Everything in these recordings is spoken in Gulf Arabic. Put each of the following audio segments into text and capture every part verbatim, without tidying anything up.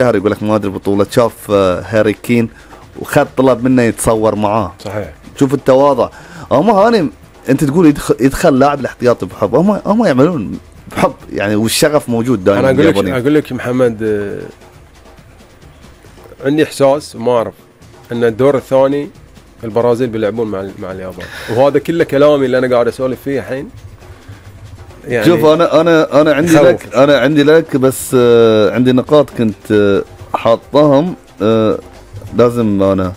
يقول لك ما ادري بطولة، شاف هاري كين وخذ طلب منه يتصور معاه. صحيح. شوف التواضع. هم هاني انت تقول يدخل, يدخل لاعب الاحتياطي بحب، هم هم يعملون بحب يعني، والشغف موجود دائما. انا اقول لك اقول لك محمد، عندي احساس ما اعرف ان الدور الثاني البرازيل بيلعبون مع مع اليابان، وهذا كله كلامي اللي انا قاعد اسولف فيه الحين. يعني شوف انا انا انا عندي لك انا عندي لك بس آه عندي نقاط كنت آه حاطهم، آه لازم انا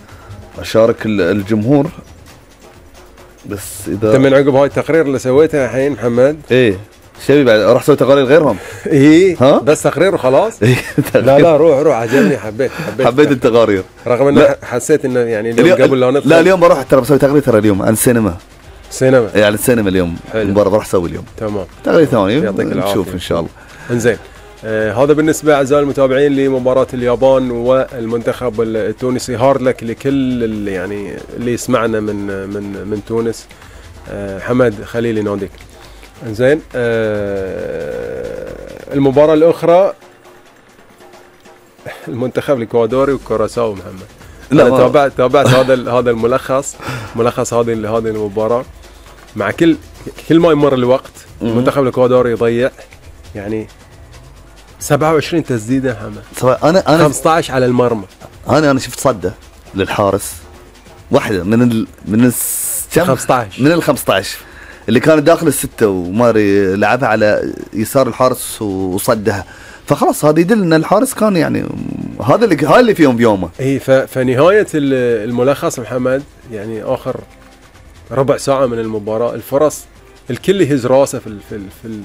اشارك الجمهور. بس اذا انت من عقب هاي التقرير اللي سويته الحين محمد، ايه شبي بعد اروح اسوي تقارير غيرهم؟ ايه ها بس تقرير وخلاص. إيه لا لا روح روح عجبني، حبيت حبيت حبيت التقارير، رغم ان حسيت انه يعني اليوم قبل لا ندخل. لا اليوم بروح ترى بسوي تقرير، ترى اليوم عن السينما. سينما يعني السينما اليوم مباراه بروح اسوي اليوم. تمام تقرير ثاني نشوف ان شاء الله. انزين آه هذا بالنسبه اعزائي المتابعين لمباراه اليابان والمنتخب التونسي. هارد لك لكل اللي يعني اللي يسمعنا من من من تونس. آه حمد خليلي نوديك. انزين آه المباراه الاخرى المنتخب الاكوادوري وكوراساو. محمد لا أنا تابعت تابعت هذا هذا الملخص ملخص هذه هذه المباراه. مع كل كل ما يمر الوقت المنتخب الاكوادوري يضيع يعني سبعة وعشرين تسديده محمد، انا انا خمسة عشر على المرمى. انا انا شفت صده للحارس واحده من ال من كم خمسة عشر من ال خمسة عشر اللي كانت داخل السته، وماري لعبها على يسار الحارس وصدها. فخلاص هذا يدل ان الحارس كان يعني هذا اللي هاي اللي فيهم بيومه. اي فنهايه الملخص محمد يعني اخر ربع ساعه من المباراه، الفرص الكل يهز راسه في في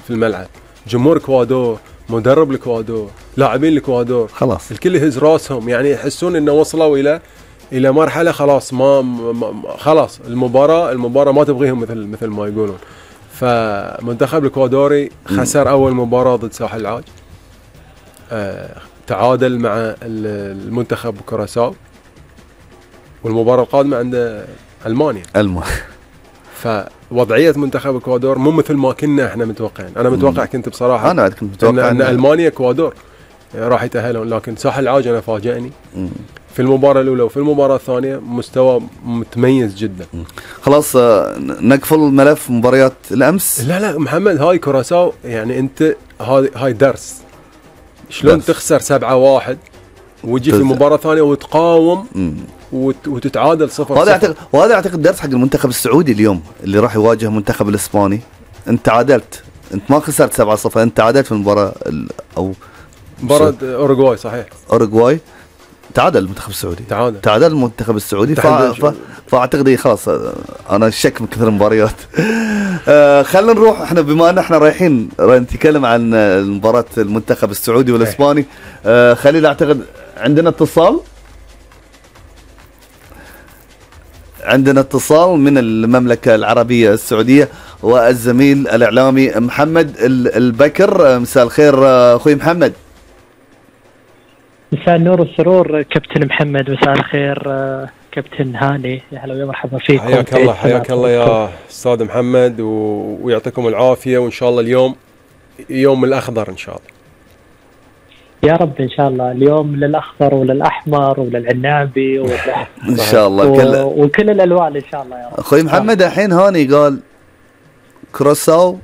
في الملعب. جمهور الاكوادور، مدرب الاكوادور، لاعبين الاكوادور، خلاص الكل يهز راسهم، يعني يحسون انه وصلوا الى الى مرحله خلاص ما, ما خلاص المباراه المباراه ما تبغيهم مثل مثل ما يقولون. فمنتخب الاكوادوري خسر اول مباراه ضد ساحل العاج، آه تعادل مع المنتخب كوراساو، والمباراه القادمه عند المانيا. المانيا فوضعيه منتخب الاكوادور مو مثل ما كنا احنا متوقعين. انا متوقع كنت بصراحه انا كنت متوقع ان, إن المانيا اكوادور راح يتاهلون، لكن ساحل العاج انا فاجأني مم. في المباراه الاولى وفي المباراه الثانيه مستوى متميز جدا. مم. خلاص نقفل ملف مباريات الامس. لا لا محمد، هاي كوراساو يعني انت هاي هاي درس شلون درس. تخسر سبعة واحد وتجي في مباراه ثانيه وتقاوم مم. وت... وتتعادل صفر. وهذا اعتقد وهذا اعتقد درس حق المنتخب السعودي اليوم اللي راح يواجه المنتخب الاسباني. انت تعادلت، انت ما خسرت سبعة صفر، انت تعادلت في المباراه او مباراه اوروغواي. صحيح اوروغواي تعادل المنتخب السعودي، تعادل تعادل المنتخب السعودي. فا... ف... فاعتقد خلاص انا شك من كثر المباريات. آه خلينا نروح احنا بما ان احنا رايحين نتكلم عن مباراه المنتخب السعودي والاسباني. آه خليل اعتقد عندنا اتصال عندنا اتصال من المملكة العربية السعودية، والزميل الإعلامي محمد البكر. مساء الخير أخوي محمد. مساء النور والسرور كابتن محمد. مساء الخير كابتن هاني، يا هلا ومرحبا فيكم. حياك الله حياك الله يا أستاذ محمد، ويعطيكم العافية، وإن شاء الله اليوم يوم الأخضر إن شاء الله. يا رب ان شاء الله اليوم للاخضر وللاحمر وللعنابي ان شاء الله كل وكل الالوان ان شاء الله يا رب. اخوي محمد الحين هاني قال كروساو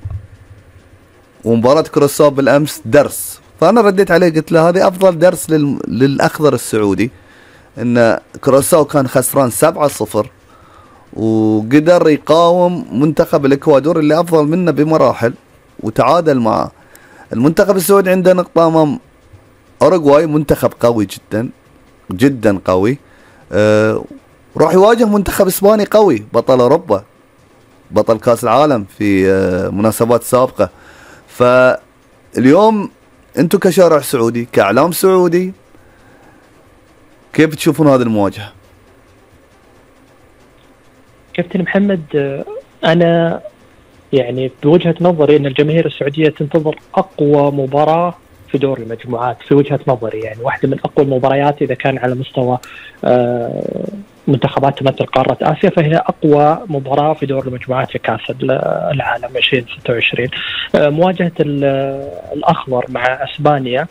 ومباراة كروساو بالامس درس، فانا رديت عليه قلت له هذه افضل درس لل... للاخضر السعودي، ان كروساو كان خسران سبعة صفر وقدر يقاوم منتخب الاكوادور اللي افضل منه بمراحل وتعادل معه. المنتخب السعودي عنده نقطة امام اوروغواي، منتخب قوي جدا جدا قوي. أه راح يواجه منتخب اسباني قوي، بطل اوروبا، بطل كاس العالم في أه مناسبات سابقة. فاليوم انتم كشارع سعودي، كاعلام سعودي، كيف تشوفون هذه المواجهة؟ كابتن محمد، انا يعني بوجهة نظري ان الجماهير السعودية تنتظر اقوى مباراة في دور المجموعات، في وجهة نظري يعني واحدة من أقوى المباريات إذا كان على مستوى منتخبات تمثل قارة آسيا، فهي أقوى مباراة في دور المجموعات في كأس العالم ألفين وستة وعشرين. مواجهة الأخضر مع أسبانيا،